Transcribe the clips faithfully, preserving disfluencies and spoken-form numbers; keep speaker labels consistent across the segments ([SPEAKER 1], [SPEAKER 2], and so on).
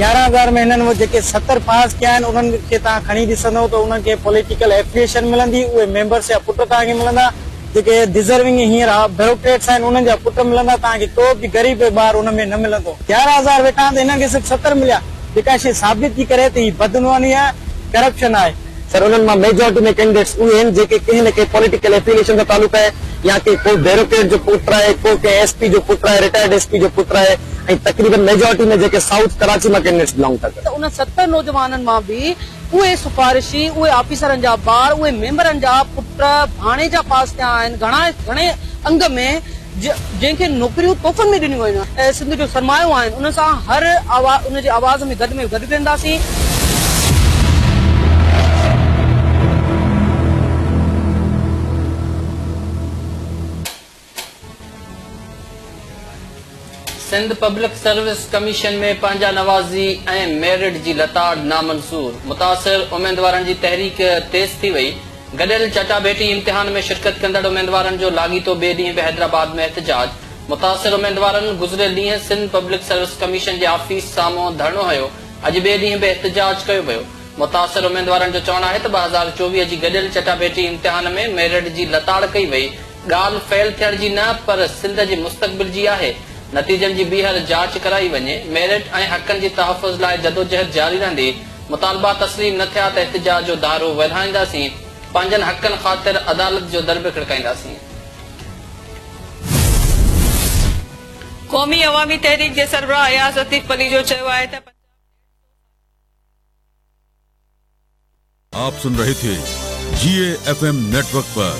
[SPEAKER 1] يارهن هزار ۾ هنن وٽ جيڪي ستر پاس ڪيا آهن، انهن کي توهان کڻي ڏسندؤ ته انهن کي پوليٽيڪل ايفليئيشن ملندي، اهي ميمبرس جا پٽ توهان کي ملندا، جيڪي ڊزرونگ هينئر بيوروڪريٽس آهن انهن جا پٽ ملندا، توهان کي ڪو به غريب ٻار ان ۾ نه ملندو. يارهن هزار ويٺا آهن ته هنن کي صرف ستر مليا، جيڪا شيء ثابت ٿي ڪري ته هي بدعنواني آهي، ڪرپشن آهي.
[SPEAKER 2] سر انهن مان ميجارٽي ۾ ڪينڊيڊيٽس اهي آهن جيڪي ڪنهن نه ڪنهن پوليٽيڪل ايفليئيشن سان تعلق آهي، يا ڪي ڪو بيوروڪريٽ جو پٽ آهي، ڪو ڪنهن ايس پي جو پٽ آهي، رٽائرڊ ايس پي جو پٽ آهي، ۽ تقريبن ميجارٽي ۾ جيڪي سائوٿ ڪراچي مان ڪينڊيڊيٽس بلانگ ٿا ڪن.
[SPEAKER 3] ته ان ستر نوجوانن مان به اهي سفارشي، اهي آفيسرن جا ٻار، اهي ميمبرن جا پٽ، ڀاڻيجا پاس ٿيا آهن گهڻا گهڻي انگ ۾، جنهن کي نوڪريون تحفن ۾ ڏنيون ويون آهن، سنڌ جو سرمايو آهن، ان سان هر آواز ان جي آواز ۾ گڏ ۾ گڏ وينداسين.
[SPEAKER 4] سنڌ پبلڪ سروس ڪميشن ۾ پنهنجا نوازي ۽ ميرٽ جي لتاڙ نامنظور، متاثر اميدوارن جي تحريڪ تيز ٿي وئي. گڏيل چٽاڀيٽي امتحان ۾ شرڪت ڪندڙ اميدوارن جو لاڳيتو ٻئي ڏينهن به حيدرآباد ۾ احتجاج. متاثر اميدوارن گذريل ڏينهن سنڌ پبلڪ سروس ڪميشن جي آفيس سامهون ڌرڻو هنيو، اڄ ٻئي ڏينهن به احتجاج ڪيو ويو. متاثر اميدوارن جو چوڻ آهي ته ٻه هزار چوويهه جي گڏيل چٽاڀيٽي امتحان ۾ ميرٽ جي لتاڙ ڪئي وئي، ڳالهه فيل ٿيڻ جي نه پر سنڌ جي مستقبل جي آهي، نتيجن جي ٻيهر جاچ ڪرائي وڃي، ميرٽ ۽ حقن جي تحفظ لاء جدوجهد جاري رهندي، مطالبا تسليم نه ٿيا ته احتجاج جو دائرو وڌائينداسين، پنهنجن حقن خاطر عدالت جو در به کڙڪائينداسين.
[SPEAKER 5] قومي عوامي تحريڪ جي سربراهه اياز لطيف پليجو چيو آهي ته
[SPEAKER 6] आप सुन रहे थे जी एफ एम नेटवर्क पर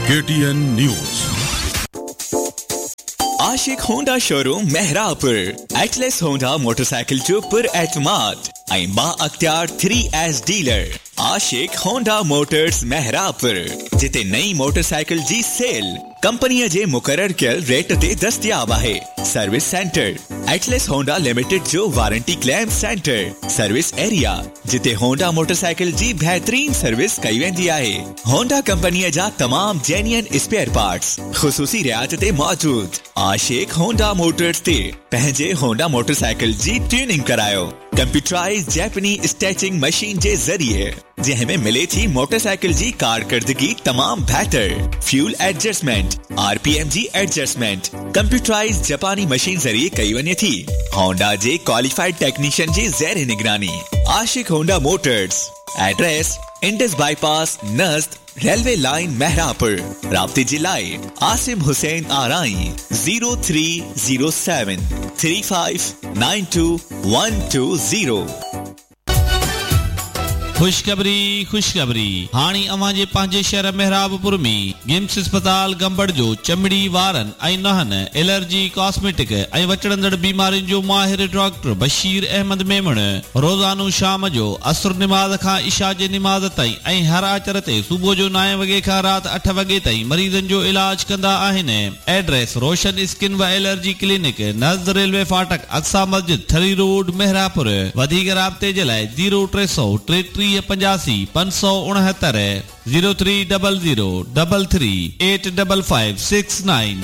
[SPEAKER 6] K T N news.
[SPEAKER 7] Ashiq Honda showroom Mehrabpur, Atlas Honda motorcycle जो पुर एतमाद ऐं बाअख्तियार three S dealer. Ashiq Honda Motors Mehrabpur, जिते नई मोटरसाइकिल जी सेल कंपनीअ जे मुक़रर कयल रेट ते दस्तियाब आहे। Service centre Atlas Honda limited जो warranty claim centre, service area जिते होंडा मोटरसाइकिल जी बहितरीन सर्विस कई वेंदी आहे। होंडा कंपनीअ जा तमाम जेन्युइन स्पेयर पार्ट्स ख़ुसूसी रियायत ते मौजूद। आशिक होंडा मोटर्स ते पंहिंजे होंडा मोटरसाइकिल जी ट्यूनिंग करायो, कंप्यूटराइज जैपनी स्टेचिंग मशीन जे ज़रिए, जंहिं में मिले थी मोटरसाइकिल जी कारकर्दगी तमाम बहितर, फ्यूल एडजस्टमेंट, आरपीएम जी एडजस्टमेंट कंप्यूटराइज जापानी मशीन ज़रिए कई वञे थी। होंडा जे क्वालिफाइड टेक्नीशियन जी ज़ेर निगरानी। Ashiq Honda Motors, address Indus bypass Najd railway line Mehrapur. राब्ते जे लाइ Asim Hussain Arai zero three zero seven three five nine two one two zero.
[SPEAKER 8] खुशखबरी खुशखबरी, हाणे अव्हां जे पंहिंजे शहर मेहराबपुर में गिम्स अस्पताल गंबड़ जो चमड़ी वारनि ऐं नुहनि, एलर्जी, कॉस्मेटिक ऐं वचड़ंदड़ बीमारियुनि जो माहिर डॉक्टर बशीर अहमद मेमण रोज़ानो शाम जो असुर निमाज़ खां इशा जे निमाज़ ताईं ऐं हर आचर ते सुबुह जो नाए वॻे खां राति अठ वॻे ताईं मरीज़नि जो इलाज कंदा आहिनि। एड्रेस रोशन स्किन व एलर्जी क्लिनिक, नज़द रेलवे फाटक, अक्सा मस्जिद, थरी रोड, मेहरापुर। वधीक राब्ते जे लाइ ज़ीरो टे सौ टेटीह पंजासी पंज सौ उणहतरि zero three double zero double three eight double five six nine.